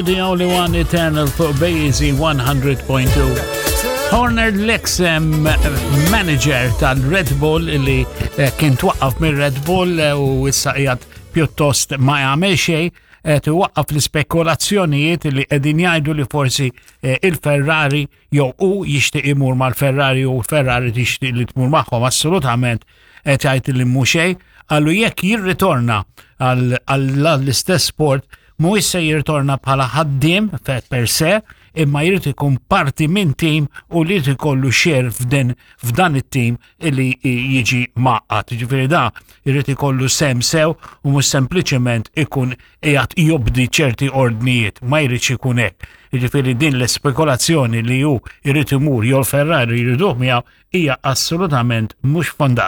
The Only One Eternal fuq Bazy 100.2. Horner l-ex manager tal-Red Bull li eh, kien twaqqaf mir Red Bull eh, u issa qiegħed pjuttost ma jagħmel xejn qed iwaqqaf l-ispekulazzjonijiet li qegħdin jgħidu li forsi eh, il-Ferrari jew hu jixtieq imur mal-Ferrari u l-Ferrari tixtieq li tmur magħhom assolutament qed jgħid li mhu xejn, qallu jekk jirritorna għall-istess sport mhuwiex se jirritorna bħala ħaddiem per se, imma jrid ikun parti minn tim u li jrid ikollu xer f'din f'dan it-tim illi jiġi maqqat. Ġifieri da jrid ikollu sem sew u mhux sempliċement ikun qiegħed jobdi ċerti ordnijiet, ma jridx ikun hekk. Jiġifieri din l-ispekulazzjoni li hu jrid imur jew Ferrari jriduh miegħu hija assolutament mhux fondata.